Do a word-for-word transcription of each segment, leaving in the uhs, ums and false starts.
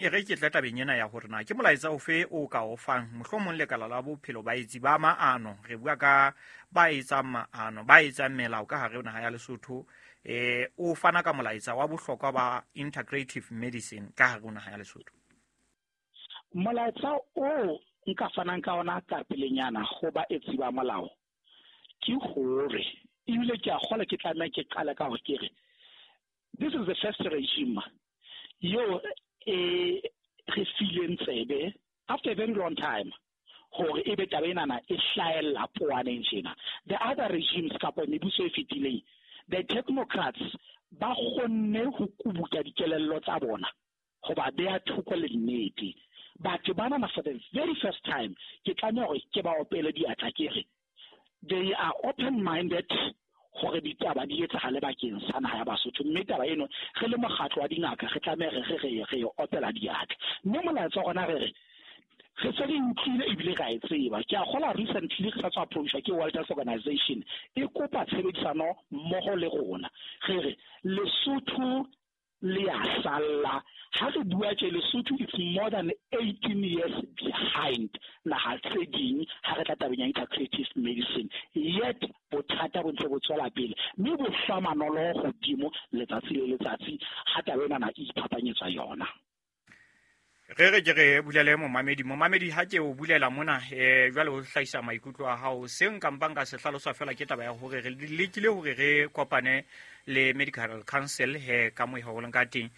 E re ke tle tabeng ena ya hore na ke molaetsa ofe o ka o fang mohlomong lekala la bophelo baetsi ba maano. Re bua ka ba etsang maano, ba etsang melao ka hare ho naha ya Lesotho. Eh o fana ka molaetsa wa bohlokwa ba integrative medicine ka hare ho naha ya Lesotho. Molaetsa o nka fanang ka ona ka pelenyana ho baetsi ba molao ke hore ebile ke a kgola ke tlameha ke qale ka hore ke re this is the first regime yo e re fileng tsebe after a very long time hore ebe taba enana e hlahella poaneng tjena. The other regimes kapa mebuso e fetileng, the technocrats ba kgonne ho kubuta dikelello tsa bona ho ba beha thoko le nnete. Batho bana for the very first time ke tlameha hore ke ba opele diatla ke re they are open minded hore ditaba di etsahale bakeng sa naha ya Basotho. Mme taba eno re le mokgatlo wa dingaka re tlameha re re re opela diatla. Mme molaetsa wa rona re re re se re utlwile ebile ra e tseba. Ke a kgola recently re sa tswa approachwa ke World Health Organization e kopa tshebedisano mmoho le rona. Re re Lesotho le a salla. Ha re bua tje Lesotho it's more than eighteen years behind naha tse ding ha re tla tabeng ya integrative medicine. Yet bothata bo ntse bo tswela pele mme bo hlwa manolo hodimo letsatsi le letsatsi ha taba ena e iphapanyetswa yona. Re re ke re bulele momamedi. Momamedi ha ke o bulela mona eh jwale o hlahisa maikutlo a hao. Se nka mpang ka se hlalosa fela ke taba ya hore re lekile hore re kopane le Medical Council he ka mo e holeng ka teng.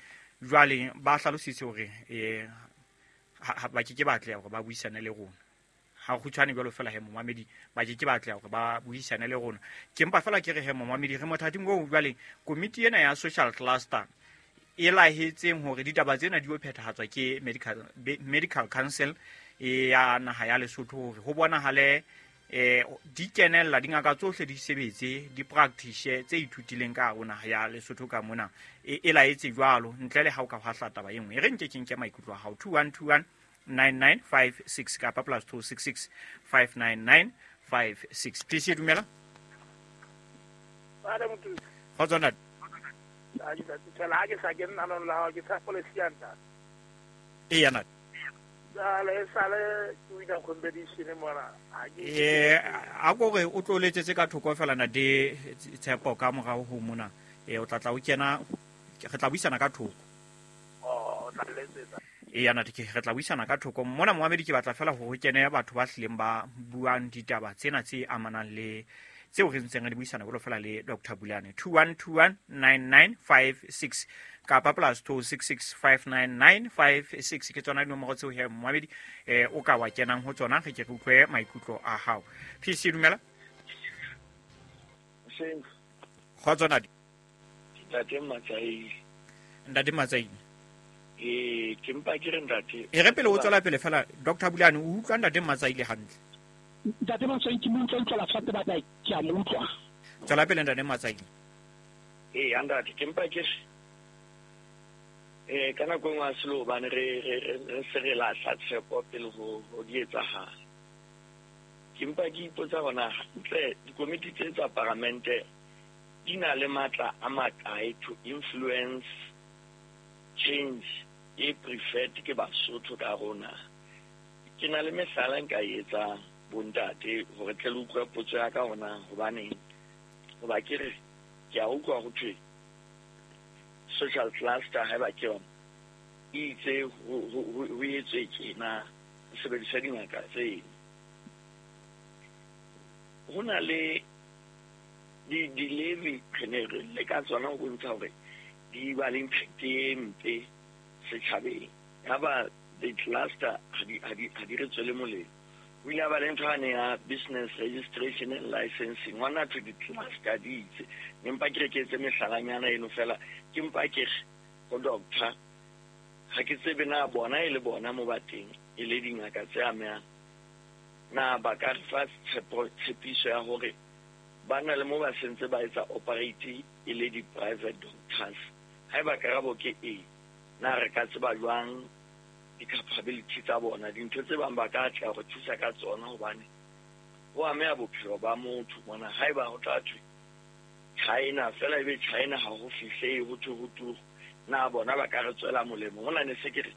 Jwale ba hlalositse hore eh ba ke ke batla hore ba buisane le rona. Ha kgutshwane jwalo fela he momamedi ba ke ke batla hore ba buisane le rona. Ke mpa fela ke re he momamedi re mothating oo jwale komiti ena ya social cluster e lahetseng hore ditaba tsena di o phethahatswa ke Medical Medical Council ya naha ya Lesotho hore ho bonahale eh di kenella dingaka tsohle di sebetse di practice tse ithutileng ka hare naha ya Lesotho ka mona e e laetse jwalo ntle le ha o ka hwahla taba e nngwe. E re nke ke nke maikutlo a hao two one two one nine nine five six kapa plus two six six five nine nine five six. Please dumela. Ba re motho. Kgotso ntate. A ke tla ha ke sa ke nna lona la ke sa policy ya ntate. E ya ntate. Dale sale ke wina competition mona. Eh a go re o tlo letsetse ka thoko fela na de tshepo ka morao ho mona. Eh o tla tla o kena re tla buisana ka thoko. Oh o tla letsetsa. E ya ntate ke re tla buisana ka thoko. Mona moamedi ke batla fela hore ho kene batho ba hlileng ba buang ditaba tsena tse amanang le tseo re ntseng re di buisana jwalo fela le Doctor Bulane. two one two one nine nine five six kapa plus two six six five nine nine five six ke tsona dinomoro tseo he moamedi eh o ka wa kenang ho tsona re ke re utlwe maikutlo a hao. P C dumela. Seng. Kgotso ntate. Ntate Matsaile. Ntate Matsaile. Eh ke mpa ke re ntate. E re pele o tswela pele fela Doctor Bulane o utlwa ntate Matsaile hantle. Ntate Matsaile ke mo utlwa utlwa fatshe ba ke a mo utlwa. Tswela pele ntate Matsaile. Eh ntate ke mpa ke eh ka nako engwe a selo hobane re re re se re lahla tshepo pele ho ho di etsahala. Ke mpa ke ipotsa hona hantle dikomiti tse tsa paramente di na le matla a makae to influence change e preferred ke Basotho ka rona. Ke na le mehlala nka e etsang bontate hore tle le utlwe potso ya ka hona hobaneng hoba ke re ke a utlwa ho thwe social cluster ha ba ke yona e itse ho etswe tjena ho sebedisa dingaka tseno. Ho na le di di-levy re ne re leka tsona ho bontsha hore di ba le impact e mpe setjhabeng. Yaba the cluster ha di ha di ha di re tswele molemo. O ile a ba le ntho yane ya business registration and licensing. Ngwana thwe di-cluster di itse. Ne mpa ke re ke etse mehlalanyana eno fela ke mpa ke re ho doctor ha ke tsebe na bona e le bona mo ba teng e le dingaka tse amehang na ba ka re fa tshepo tshepiso ya hore ba na le mo ba sentse ba etsa operate e le di-private doctors. Haeba karabo ke e na re ka tseba jwang di-capability tsa bona dintho tse bang ba ka tla go thusa ka tsona hobane ho ameha bophelo ba motho mona. Haeba ho tla thwe China fela ebe China ha ho fihlehe ho thwe ho turu na bona ba ka re tswela molemo. Hona ne se ke re